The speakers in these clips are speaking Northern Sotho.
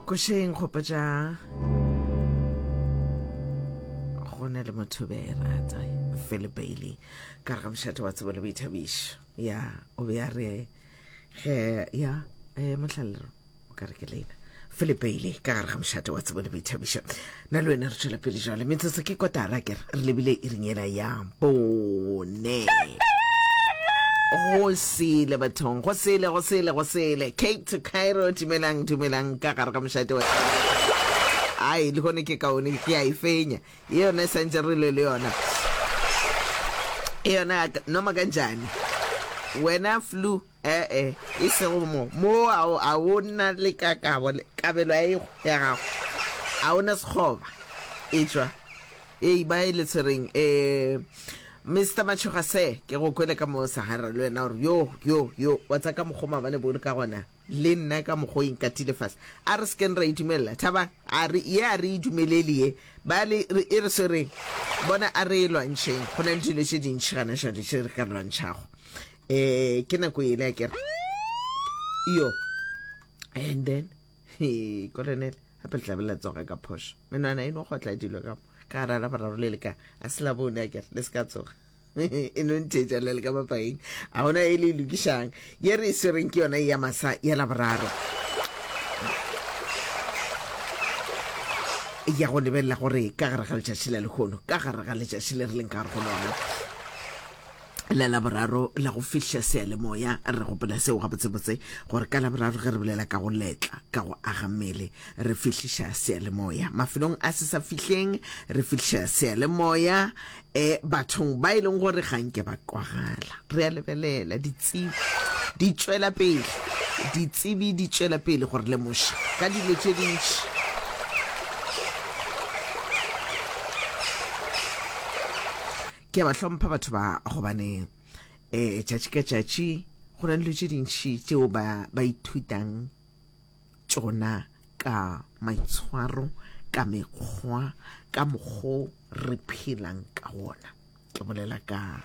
Košeng gopotša go na le motho be e rata Philip Bailey ka re ga mošate wa tsebo le boithabišo ya o be a re ge ya eh, mohlalero o ka re ke lena Philip Bailey ka gare ga mošate wa tsebo le boithabišo na le wena re tšwela pele jale metsotso ke kotara ke re lebile iring yela ya bone go sele bathong go sele go sele go sele cape to cairo dumelang dumelang ka gare ga mošate wa ai le gone ke kaone ke a e fenya ye yona e santse re le le yona e yona noma kanjani wena flu ee e sego mo mo a o na le ka kabo kabelo ya ego ya gago a o na sekgoba e tšwa Ei, ba e le tshwereng. Eh, Mister Machoga se, ke go kwele ka mo Sahara le wena gore yo, yo, yo, wa tsa ka mokgo maabane bo le ka gona, le nna ka mokgo e nkatile fase. A re sekeng ra e dumelela, Thabang, a re, ye a re e dumelele ye. Ba le, re, e re swereng. Bona, a re e lwantšheng. Go na le dilo tše dintši gana jwale tše re ka lwantšhago. Eh, ke nako yele akere. Yo. And then, he, Colonel. Gape le tla be la tsoga ka phošo. Menwana e no kgotla dilo ka mo. Ka gara la boraro le le ka. A se la bone a kere, le se ka tsoga. E no ntheetša le le ka mapaeng. A gona e le e lokišang. Ye re e swereng ke yona ya masa ya la boraro. Ya go lebelela gore ka gare ga letšatši la lehono, ka gare ga letšatši le re leng ka gare go lona, la Laboraro la go fihla seyalemoya. Re gopola seo gabotsebotse gore ka Laboraro ge re bolela ka go letla, ka go aga mmele, re fihliša seyalemoya mafelong a se sa fihleng, re fihliša seyalemoya e bathong ba e leng gore ga nke ba kwagala. Re a lebelela ditsebi di tšwela pele, ditsebi di tšwela pele go re lemoša ka dilo tše dintši. Ke a ba hlompha batho ba gobane um tšatši ka tšatši go na le dilo tše dintši tšeo ba ba ithutang tšona ka maitshwaro, ka mekgwa, ka mokgo re phelang ka wona. Ke bolela ka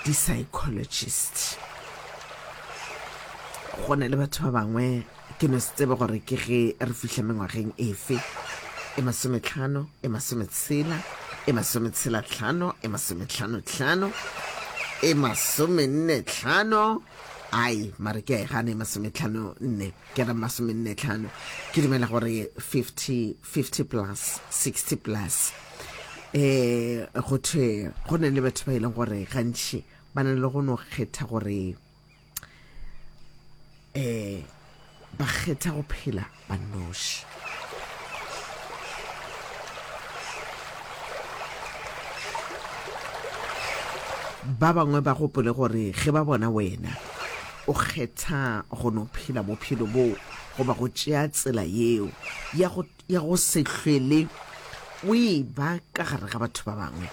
di-psychologist. Go na le batho ba bangwe Ke no se tsebe gore ke ge re fihla mengwageng efe, e masometlhano, e masometshela, e masometshela-tlhano, e masometlhano-tlhano, e masomenne-tlhano, ai, mare ke a e gana e masometlhano-nne, ke re masomenne-tlhano. Ke dumela gore 50, 50 plus, 60 plus. Eh, go thwe go na le batho ba e leng gore gantši ba na le go no kgetha gore um ba kgetha go phela ba nnoši. Ba bangwe ba gopole gore ge ba bona wena o kgetha go no phela bophelo boo goba go tšea tsela yeo ya go ya go se hlwele o e ba ka gare ga batho ba bangwe.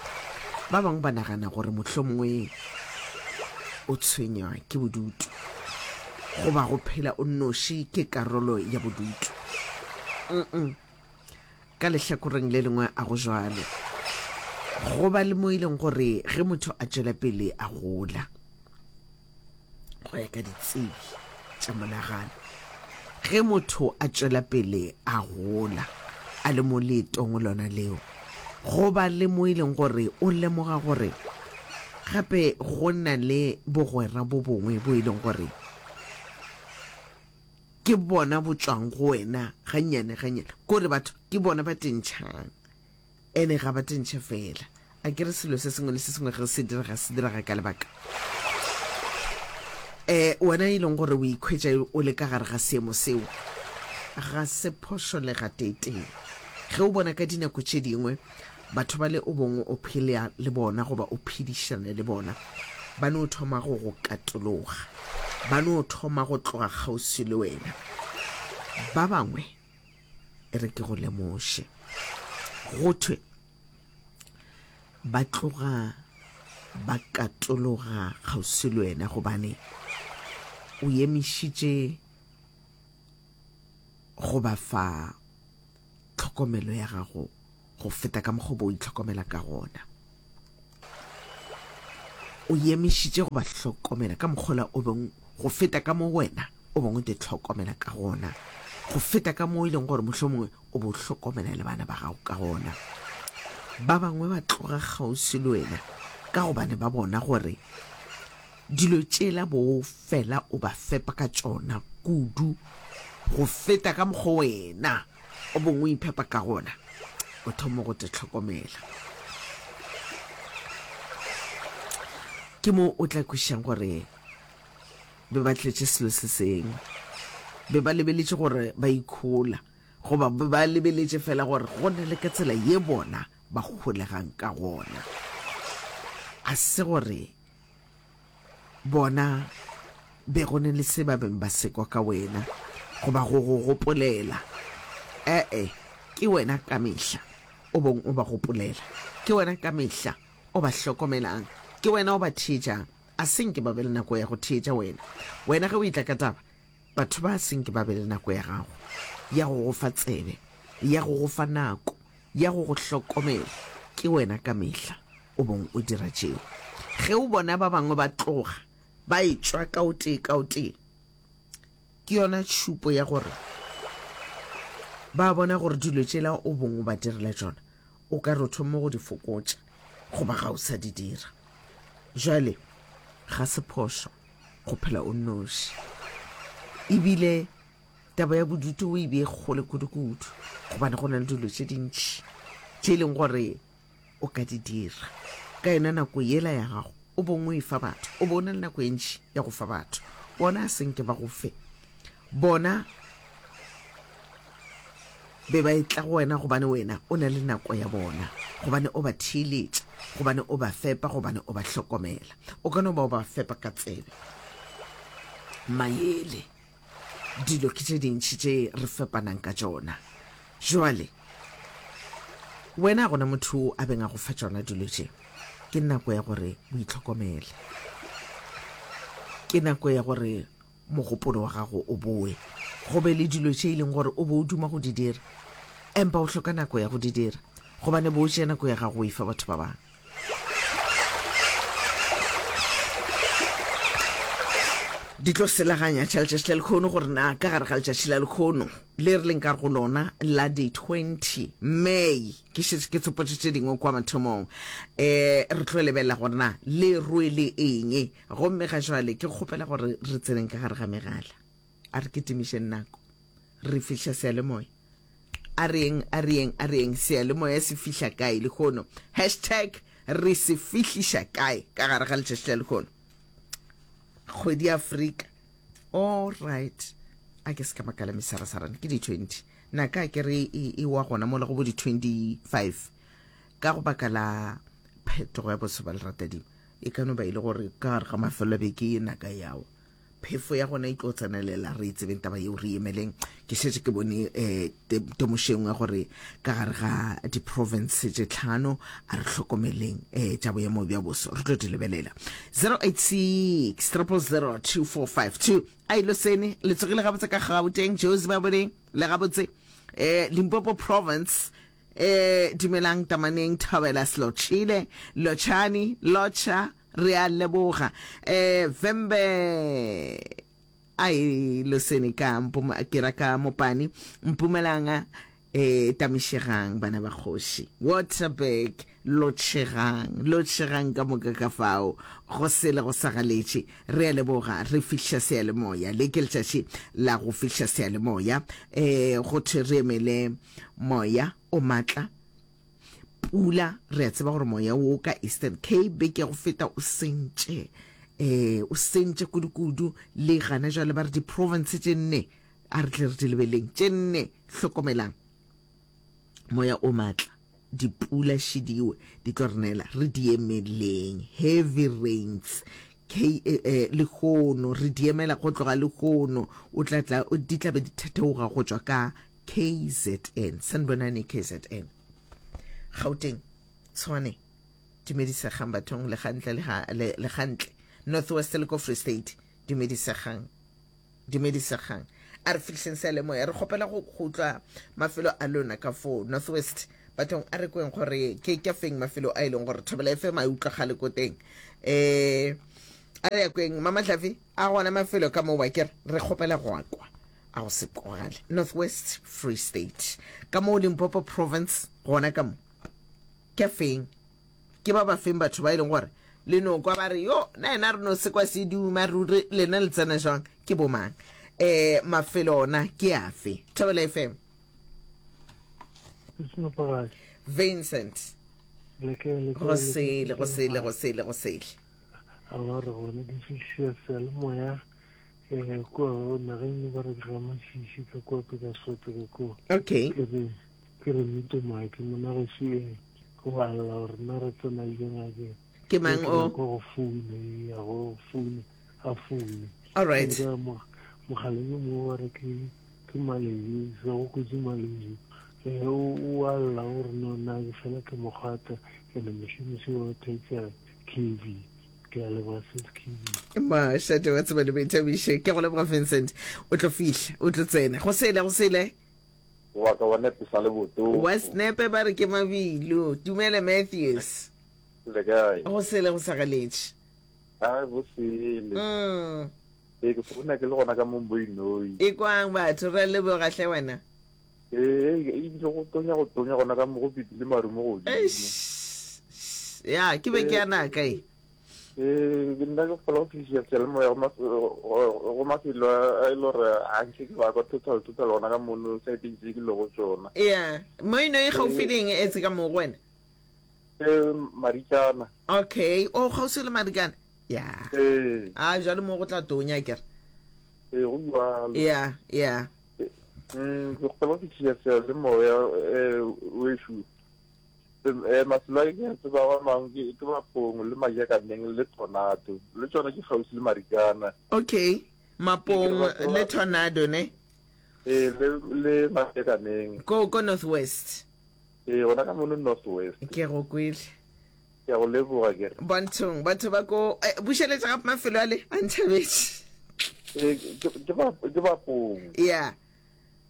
Ba bangwe ba nagana gore mohlomongwe o tshwenywa ke bodutu goba go phela o nnoši ke karolo ya bodutu. Mm-mm. Ka lehlakoreng le lengwe a go jwalo. Go ba le mo e leng gore ge motho a tšwela pele a gola, go ya ka ditsebi tša monagano, ge motho a tšwela pele a gola a le mo leetong lona leo, go ba le mo e leng gore o lemoga gore gape go na le bogwera bo bongwe bo e leng gore ke bona bo tšwang go wena gannyane gannyane, kore batho ke bona ba tentšhang. Ene ga ba tentšhe fela. A ke re selo se sengwe le se sengwe ge se direga, se direga ka lebaka. Um wena e leng gore o ikhwetša o le ka gare ga seemo seo, ga se phošo le gateetee. Ge o bona ka dinako tše dingwe batho ba le o bongwe o phela le bona goba o phedišana le bona, ba no thoma go go katologa, ba no thoma go tloga kgauswi le wena. Ba bangwe E re ke go lemoše. Go thwe ba tloga ba katologa kgauswi le wena gobane o emišitše go ba fa tlhokomelo ya gago go feta ka mokgwa o bo o itlhokomela ka gona. O emišitše go ba hlokomela ka mokgola o beng go feta ka mo wena o beng o te hlokomela ka gona. Go feta ka moo e leng gore mohlomongwe o bo hlokomela le bana ba gago ka gona. Ba bangwe ba tloga kgauswi le wena ka gobane ba bona gore dilo tšela bo fela o ba fepa ka tšona kudu go feta ka mokgwa wena o bong o iphepa ka gona. O thoma go te hlokomela. Ke mo o tla kwešišang gore be ba tletše selo se sengwe. Be ba lebeletše gore ba ikhola, goba be ba lebeletše fela gore go na le ka tsela ye bona ba holegang ka gona. A se gore bona be go ne le se ba beng ba se kwa ka wena goba go go gopolela. E-e, ke wena ka mehla o bong o ba gopolela. Ke wena ka mehla o ba hlokomelang. Ke wena o ba theetšang. A se nke ba be le nako ya go theetša wena. Wena ge o etla ka taba, batho ba se nke ba be le nako ya gago ya go go fa tsebe, ya go go fa nako, ya go go hlokomela. Ke wena ka mehla o bong o dira tšeo. Ge o bona ba bangwe ba tloga ba etšwa ka o tee ka o tee, ke yona tšhupo ya gore ba bona gore dilo tšela o bong o ba direla tšona o ka re o thoma go di fokotša goba ga o sa di dira. Jwale ga se phošo go phela o nnoši. Ebile taba ya bodutu o e bee kgole kudu-kudu gobane go na le dilo tše dintši tše e leng gore o ka di dira ka yona nako yela ya gago o bong o e fa batho, o bo o na le nako e ntši ya go fa batho. Bona a senke ba go fe. Bona be ba etla go wena gobane wena o na le nako ya bona, gobane o ba theeletša, gobane o ba fepa, gobane o ba hlokomela. O ka no ba o ba fepa ka tsebe, mayele, dilo ke tše dintši tše re fepanang ka tšona. Jwale, wena a gona motho a beng a go fa tšona dilo tše. Ke nako ya gore o itlhokomele. Ke nako ya gore mogopolo wa gago o boe, go be le dilo tše e leng gore o be o duma go di dira, empa o hloka nako ya go di dira, gobane bo o tšea nako ya gago o e fa batho ba bangwe. Di tlo selaganya tša letšatši la lekhono gore na ka gare ga letšatši la lekhono le re leng ka go lona la di 20 May, ke šetše ke tsopotše tše dingwe kwa mathomong, um re tlo lebelela gore na le rwele eng. Gomme ga jwale ke kgopela gore re tseneng ka gare ga megala. A re kitimišeng nako. Re fihla seyalemoya. A re yeng, a re yeng, a re yeng. Seyalemoya se fihla kae lehono? Hashtag re se fihliša kae ka gare ga letšatši la lehono? Kgwedi ya Afrika. All right. A ke se ka makala mesarasarane ke di 20. Naka ke re e, e wa gona mola go bo di 25 ka go baka la phetogo ya boso ba leratadima. E ka no ba e le gore ka gare ga mafelo a beke ye naka yawa phefo ya gona e tlo tsenelela, re e tsebeng taba yeo, re emeleng. Ke šetše ke bone um temošo engwe gore ka gare ga di-province tše tlhano a re hlokomeleng um tša boemo bja boso, re tlo di lebelela. 086 000 2452 a ilo sene le tsogile gabotse ka Gauteng, Jozi ba boneng le gabotse um Limpopo province. E, dumelang Tamaneng, Thobela Slotšhile, Lotšhani, Lotšha, re a leboga. E, Vhembe, ai, Losene ka Mpuma, ke ra ka Mopani, Mpumalanga, e, Tamišegang, bana ba kgoši. Waterberg, Lotšhegang, lotšhegang ka moka ka fao, go sele go sa galetše. Re a leboga, re fihliša seyalemoya. Le ke letšatši la go fihliša seyalemoya. E, go thwe re emele Moya o matla, pula, re a tseba gore moya wo ka Eastern Cape beke ya go feta o sentše, eh, o sentše kudu-kudu, le gana jwale ba re di-province tše nne, a re tle re di lebeleng, tše nne, hlokomelang, moya o matla, dipula šidiwe di tlo re nela, re di emeleng, heavy rains, K, eh, eh, lehono, re di emela go tloga lehono, o tla tla, di tla be di thetheoga go tšwa ka KZN. Sanibonani KZN. Gauteng, Tshwane, dumedisegang bathong le gantle le ga le, le gantle. North West le ko Free State, dumedisegang. Dumedisegang. A re fihleng seyalemoya re kgopela go go utlwa mafelo a lona ka fo North West. Bathong a re kweng gore ke ke feng mafelo a e leng gore Thobela FM a e utlwagale ko teng. Eh a re ya kweng Mama Hlafi a gona mafelo ka mo wa ke re kgopela go kwa. a go se kwagale. North West, Free State. Ka moo Limpopo Province gona ka mo. Ke feng? Ke ba ba feng batho ba e leng gore le no kwa ba re yo na yena re no se kwa se duma ruri lena le tsena jwang ke bomang? Eh mafelo ona ke afe? Thobela FM. Vincent. Go sele go sele go sele go sele. Aowa re gone ke fihlile seyalemoya eh kua nageng e ba re ke ga Masisi ka kua Petersburg ka kua. Okay. Ke re ke re mito maake mona gešo e go a lla gore nna re tsena le ngake. Ke mang o? Go go foune ya go foune a foune. All right. Mogaleng yo mongwe wa re ke ke Maleji se go kotsi Maleji eh o a lla gore no nna ke fela ke mogata ene mošomisi wa theetša KB. Ke a leboga sis KB. Mašate wa tseba le boithabišo. Ke go leboga Vincent. O tlo fihla, o tlo tsena. Go sele, go sele. Wa ka wa nepe sa le boto. Wa snepe ba re ke mabilo. Dumela Matthews. Le kae? Go sele go sa galetše. Ai go sele. Mm. Ee ke founa ke le gona ka mo Mboinoi. E kwang batho re leboga hle wena. Ee ebile go tonya go tonya gona ka mo go pipile maru mo godimo. Eish. Ya ke be ke ya naka e. Ee ke nna ke kgola go fihlisa seyalemoya go mafelo a e le gore a nke ke ba kwa total total gona ka mono saeteng tse ke lego tsona. Ya Mboinoi gaufi le eng etse ka mo go wena? Ee Marikana. Okay, o kgauswi le Marikana? Ya. Ee. A jalo mo go tla tonya kere. Ee go jalo. Ya, ya. Ke kgopela go fihlisa seyalemoya wešo. Mafelo a ke a tsebago a mangwe ke Mapong le Majakaneng le Tornado. Le tšona ke kgauswi le Marikana. Okay, Mapong le Tornado ne? Ee, le le Majakaneng. Ko ko North West. Ee, gona ka mono North West. Ke go kwele. Ke a go leboga ke re. Bonthong, batho ba ko eh, bušeletša gape mafelo ale a ntšhabetše. Ee, ke ke ba ke Bapong. Yeah.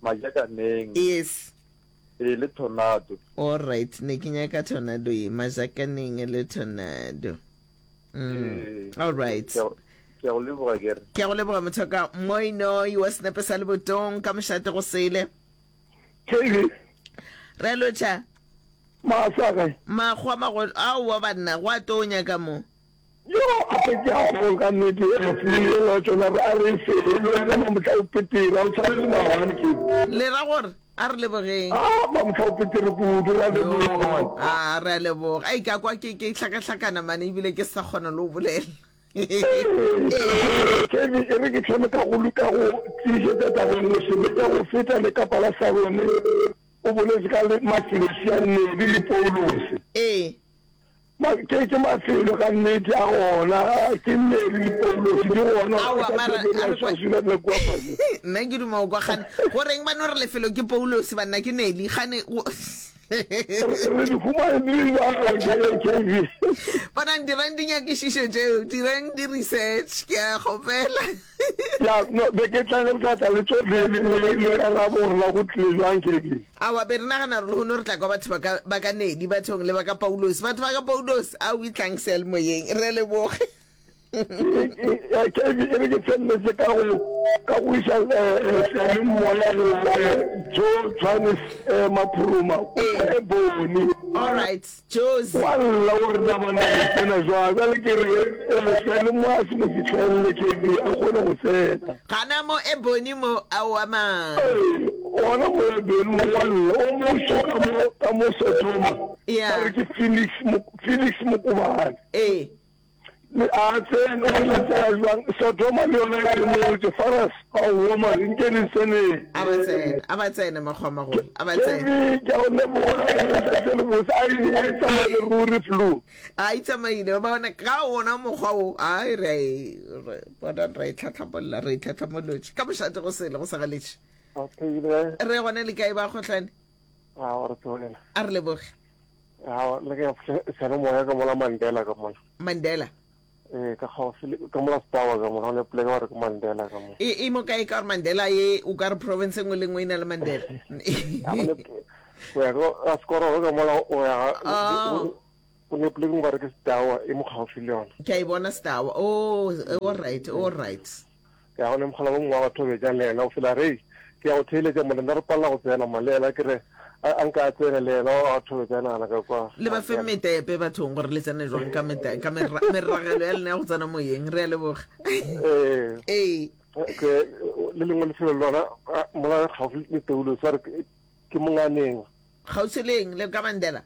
Majakaneng. Yes. Ee, le Tornado. All right, ne ke nyaka Tornado ye, Majakaneng le Tornado. Mm. Ee. All right. Ke ke a go leboga ke re. Ke a go leboga mothoka Moinoi wa senepe sa lebotong ka mošate go sele. KB. Re lotšha. Maasa kae? Makgwa magolo. Aowa banna, go a tonya ka mo. Yo, a pe ke a go ka nnete e fule la tsona re a re fele le wena mamotla o petere a o tshwane le maabane ke. Le ra gore a re lebogeng. Ah, mamotla o petere kudu ra leboga. Ah, re a leboga. Ai ka kwa ke ke hlakahlakana mane ebile ke sa kgona le go bolela. KB, e re ke thome ka go ka go tiišetša taba e nngwe sebe tša go feta le kapa la Sarone o boletše ka le mafelo sia Nedi le Paulose. Ee. Ma, ke, ke mafelo ka nnete a gona, ke Nedi le Paulose di gona Aowa, ka mara, Pretoria, a re kwa- Swaziland le kua fase. Nna ke duma go kwa gane go reng ba no re lefelo ke Paulose banna ke Neli gane go Re di humane di le bjang KB? Bonang dirang dinyakišišo tšeo, dirang di-research, ke a kgopela. Ya, no, be ke tla re tla tla le tšohle le le le karabo gore na go tlile jwang KB. Aowa, be re nagana gore lehono re tla kwa batho ba ka ba ka Nedi bathong le ba ka Paulos. Batho ba ka Paulos, ao itlang seyalemoyeng. Re a leboga. KB, e re ke feleletše ka go ka go iša seyalemoya go Joe Johannes Maphuruma o e bone. All right, Jozi. Wa lla o re na bona go tsena jwang bjale ke re seyalemoya se mo fihlelele KB a kgone go tsena. Gana mo e bone mo aowa man. Ee, gona mo e bone mo wa lla o moso ka mo ka mo Sodoma. Yeah. Ba re ke Felix Felix Mokobane. Ee. A tsene, o tla tsena jwang? Sodoma le yona e motse, Faras, aowa man, nke le tseneng. A ba tsene, a ba tsene, makgowa-magolo, a ba tsene. Baby, ke a go leboga, letsatsi le botse, a e a e tsamaile ruri flu. A e tsamaile, ba bona ka wona mokgwa wo, ai re a e, re, bona re a e tlhatlhamolla, re e tlhatlhamolotše. Ka mošate go sele, go sa galetše. Okay, le kae? Re gona le kae ba kgohlane? A re tsogela. A re leboge. Aowa, le ke seyalemoya ka mola Mandela ka mola. Mandela? Ee, ka kgauswi le ka mola Stower ka mola, go ne poleke ba re ke Mandela ka mola. E, e mo kae ka gore Mandela ye o ka re province e nngwe le nngwe e na le Mandela. Ya, go ne o ya ka Sekororo ka mola o ya ga Oh. go ne poleke nngwe ba re ke Stower e mo kgauswi le yona. Ke a e bona Stower. Oh, all right, all right. Ya go ne mogala o mongwe wa batho betša le yena o fela re. Ke ya go theeletša mona, nna re palela go tsena ma, le yena ke re a a nka a tsene le yena a thobetša a nagana ka kwa. Le ba fe metepe bathong gore le tsene jwang ka mete ka meragelo ya lena ya go tsena moyeng. Re a leboga. Ee. Ee. Ke le lengwe lefelo le lona mola gaufi le Toulo sa re ke Monganeng. Kgauswi le eng? Le ka Mandela?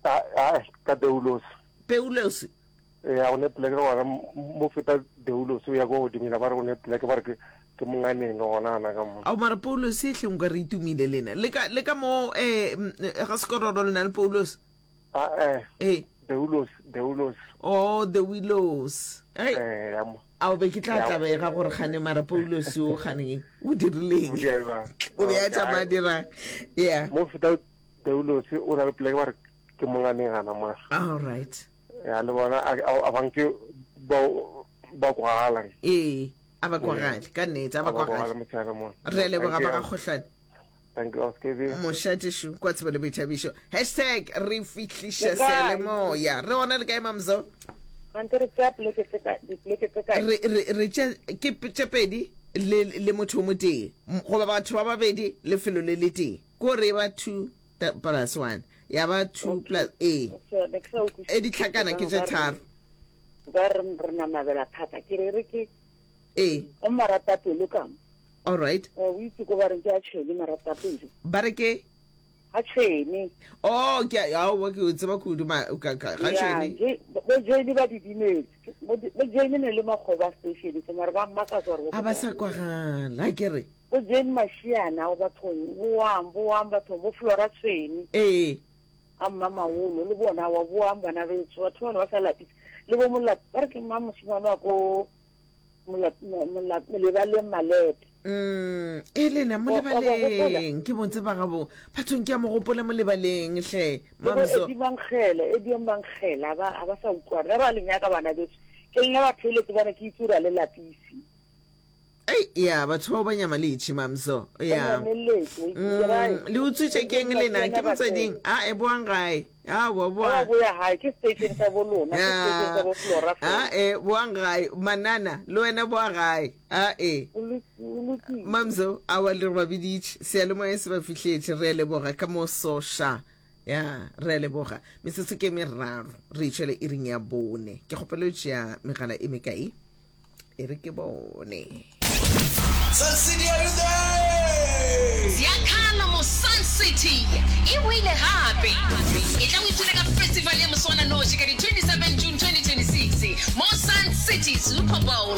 A a ka Doulos. Peulos. Ya go ne pleke gona mo feta Doulos o ya ko godimo ba re go ne pleke ba re ke ke Monganeng gona ana ka mo. Ao mara Paulos e hleng ka re itumile lena. Le ka le ka mo eh ga sekororo le na le Paulos? A eh. Eh. Doulos, Doulos. Oh, the Willows. Hey. Eh, ya mo. Ao be ke tla tlabega gore gane mara Paulos o gane o dirileng. O be a tšama dira. Yeah. Mo feta Doulos o na le pleke ba re ke Monganeng gana mo. All right. Ya le bona a banke ba ba kwagala. Ee, a ba kwagale ka nnete, a ba kwagale. Re a leboga ba ga Kgohlane. Thank you, Oskevi. Mošatešu kwa tsebo le boithabišo. Hashtag re fihliša seyalemoya. Re gona le kae Mamzo? Gante re tšea poleke tse ka dipoleke tse kae? Re re re tše ke tše pedi le le motho o motee goba batho ba babedi lefelo le le tee. Ko re ba 2 plus 1 ya ba 2 plus ee. E ditlhakana ke tše tharo. Ba re re namabela thata ke re re ke Ee. O maratapelo ka mo. All right. O itse ko ba reng ke a tšhwene maratapelo. Ba re ke? Ga tšhwene. Oh, ke a aowa ke o tseba kudu ma ka ka ga tšhwene. Bo Jane ba didimetse. Bo Jane ne le makgoba station se mara ba mmakatsa gore a ba sa kwagala ke re. Bo Jane Mashiana o bathong boang boang bathong bo Flora Tshwene. Ee. A mma Maolo le bona wa boang bana betso batho bana ba sa lapisa le bo Molapi ba re ke mma moshimane wa ko Molebaleng Malepe. Mm, e lena molebaleng ke mo tseba gabo bathong ke a mo gopola molebaleng hle mamso Edi Mankgele Edi Mankgele a ba a ba sa utlwana re ba le nyaka bana beso ke lena ba theeletse bana ke itse gore a le lapise Ei, ya batho bao ba nyamaletše mamso ya mm, le utswitše keng lena ke motsweding a e boang gae a boa boa boya gae ke station sa bo lona ke station sa bo Flora a e boang gae manana le wena boa gae a e mamso a wa le ba biditše seyalemoya se ba fihletše re a leboga ka mo soša ya re a leboga metsotso ke meraro re itšhele iring ya bone ke kgopelo tšea megala e mekae E re ke bone. Sun City, are you there? Ziakhala mo Sun City e boile gape. E tla o ipshine ka festival ya moswananoši ka di 27 June 2026 mo Sun City Super Bowl.